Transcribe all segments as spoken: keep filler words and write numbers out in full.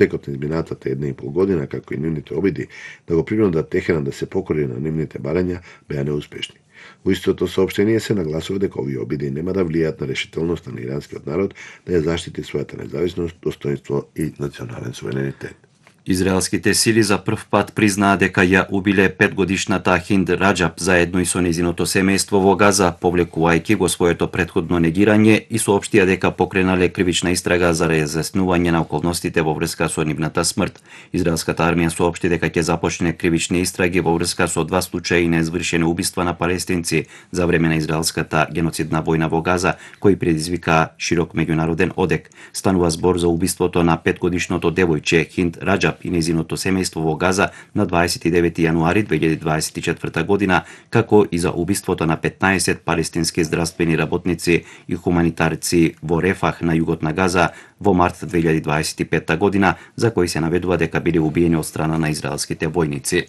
Текот на изминатата една и пол година, како и нивните обиди да го принудат Техеран да се покори на нивните барања, беа неуспешни. Во истото соопштение се нагласува дека овие обиди нема да влијаат на решителноста на иранскиот народ да ја заштити својата независност, достоинство и национален суверенитет. Израелските сили за прв пат признаа дека ја убиле петгодишната Хинд Раџаб заедно и со нејзиното семејство во Газа, повлекувајќи го своето претходно негирање и соопштија дека покренале кривична истрага за разјаснување на околностите во врска со нивната смрт. Израелската армија соопшти дека ќе започне кривични истраги во врска со два случаи на извршени убиства на палестинци за време на израелската геноцидна војна во Газа, кои предизвика широк меѓународен одек. Станува збор за убиството на петгодишното девојче Хинд Раџаб и нејзиното семејство во Газа на дваесет и девети јануари две илјади дваесет и четврта година, како и за убиството на петнаесет палестински здравствени работници и хуманитарци во Рефах на југот на Газа во март две илјади дваесет и петта година, за кои се наведува дека биле убиени од страна на израелските војници.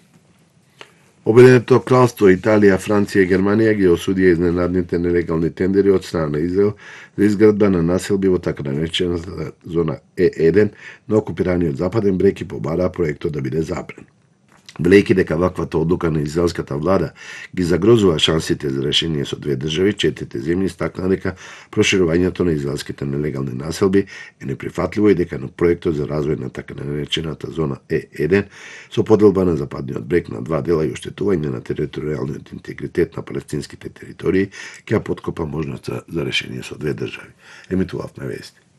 Обединето кралство, Италија, Франција и Германија ги осудија изненадните нелегални тендери од страна на Израел за изградба на населби во така наречената зона Е еден на окупираниот Западен брег и побараа проектот да биде забран. Велејќи дека ваквата одлука на израелската влада ги загрозува шансите за решение со две држави, четирите земји истакнаа дека проширувањето на израелските нелегални населби е неприфатливо и дека на проектот за развој на така наречената зона Е еден со поделба на Западниот брег на два дела и оштетување на територијалниот интегритет на палестинските територии ќе ја поткопа можноста за решение со две држави. Емитувавме вести.